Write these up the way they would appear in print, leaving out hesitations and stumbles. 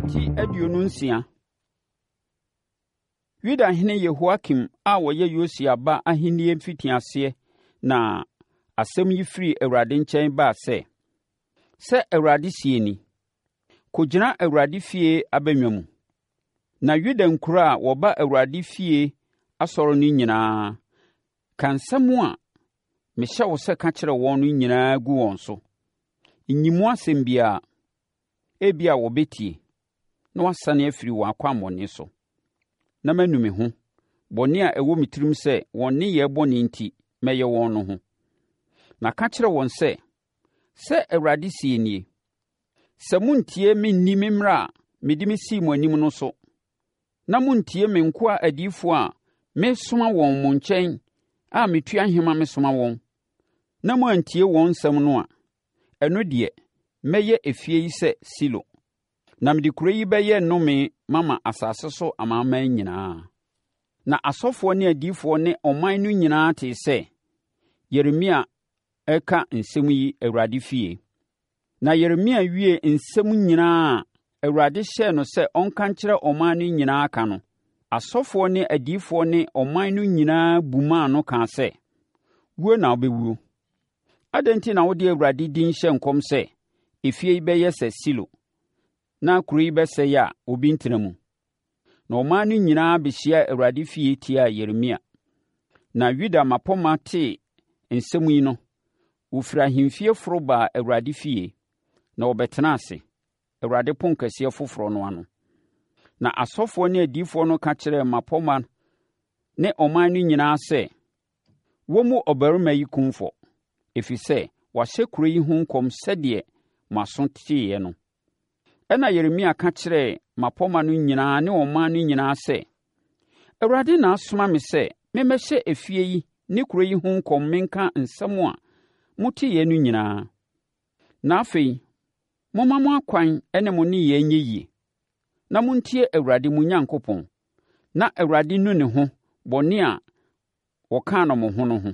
Eti 26. Yudahene Yehoiakim a ɔyɛ Yosia ba ahennie mfitiaseɛ na asɛm yi firi Awurade nkyɛn baa sɛ, Sɛ Awurade seɛ nie: Kɔgyina Awurade fie abannwa mu, na Yuda nkuro a wɔba Awurade fie asɔre no nyinaa, ka nsɛm a mehyɛ wo sɛ ka kyerɛ wɔn no nyinaa gu wɔn so. Nyi mu asɛm biara. Ebia wɔbɛtie, na wɔasane afiri wɔn akwammɔne so, na manu me ho, bɔne a ɛwɔ me tirim sɛ wɔn nneyɛɛ bɔne enti mɛyɛ wɔn no ho. Na ka kyerɛ wɔn sɛ, 'Sɛ Awurade seɛ nie, Sɛ monntie me nni me mmara a mede mesii mo anim no so, na monntie me nkoa adiyifoɔ a mesoma wɔn mo nkyɛn a metua nhema mesoma wɔn, na moantie wɔn nsɛm no a, ɛno deɛ, mɛyɛ efie yi sɛ Silo, na mede kuro yi bɛyɛ nnome mama asase so amanaman nyinaa. Na asɔfoɔ ne adiyifoɔ ne ɔman no nyinaa tee sɛ Yeremia reka nsɛm yi Awurade fie. Na Yeremia wiee nsɛm nyinaa a Awurade hyɛɛ no sɛ ɔnka nkyerɛ ɔman no nyinaa ka no, asɔfoɔ ne adiyifoɔ ne ɔman no nyinaa bumaa no kaa sɛ, Wuo na wobɛwuo. Adɛn enti na wode Awurade din hyɛ nkɔm sɛ efie yi bɛyɛ sɛ Silo, na kuro yi bɛsɛe a obi rentena mu? Na ɔman no nyinaa bɛhyiaa Awurade fie tiaa Yeremia. Na Yuda mmapɔmma tee nsɛm yi no, wɔfiri ahemfie foro baa Awurade fie, na wɔbɛtenaa ase, Awurade ponkɛseɛ foforɔ no ano. Na asɔfoɔ ne adiyifoɔ no ka kyerɛɛ mmapɔmma ne ɔman no nyinaa sɛ, Wɔmmu ɔbarima yi kumfɔ, ɛfiri sɛ wahyɛ kuro yi ho nkɔm sɛdeɛ mo aso teeɛ no. Ɛnna Yeremia ka kyerɛɛ mmapɔmma no nyinaa ne ɔman no nyinaa sɛ, Awurade na asoma me sɛ memmɛhyɛ efie yi ne kuro yi ho nkɔm menka nsɛm a moteeɛ no nyinaa. Na afei, momma mo akwan ne mo nneyɛɛ nyɛ yie, na montie Awurade mo Onyankopɔn, na Awurade nnu ne ho bɔne a wɔkaa no mo ho no ho.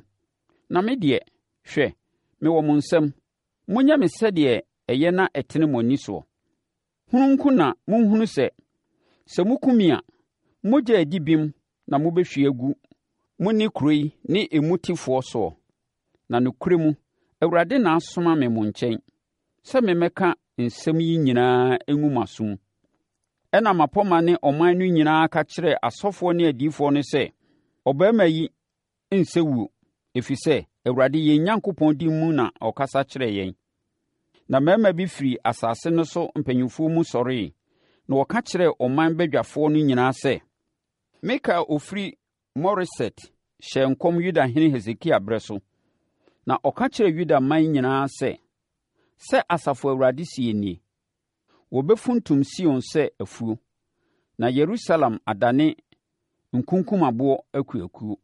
Na me deɛ, hwɛ, mewɔ mo nsam. Monyɛ me sɛdeɛ ɛyɛ na ɛtene mo ani soɔ. Hunu nko na monhunu sɛ, sɛ moku me a, mogya a ɛdi bem na mobɛhwie agu mo ne kuro yi ne emu tefoɔ soɔ. Na nokorɛ mu, Awurade na asoma me mo nkyɛn sɛ memmɛka nsɛm yi nyinaa ngu mo aso mu. Ɛnna mmapɔmma ne ɔman no nyinaa ka kyerɛɛ asɔfoɔ ne adiyifoɔ no sɛ, Ɔbarima yi nsɛ wuo, ɛfiri sɛ, Awurade yɛn Onyankopɔn din mu na ɔkasa kyerɛɛ yɛn. Na mmarima bi firii asase no so mpanimfoɔ mu sɔreeɛ, na wɔka kyerɛɛ ɔman badwafoɔ no nyinaa sɛ, Mika a ɔfiri Moreset hyɛɛ nkɔm Yudahene Hesekia berɛ so, na ɔka kyerɛɛ Yuda man nyinaa sɛ, Sɛ Asafo Awurade seɛ nie, Wɔbɛfuntum Sion sɛ afuo, na Yerusalem adane nkunkumaboɔ akuakuo.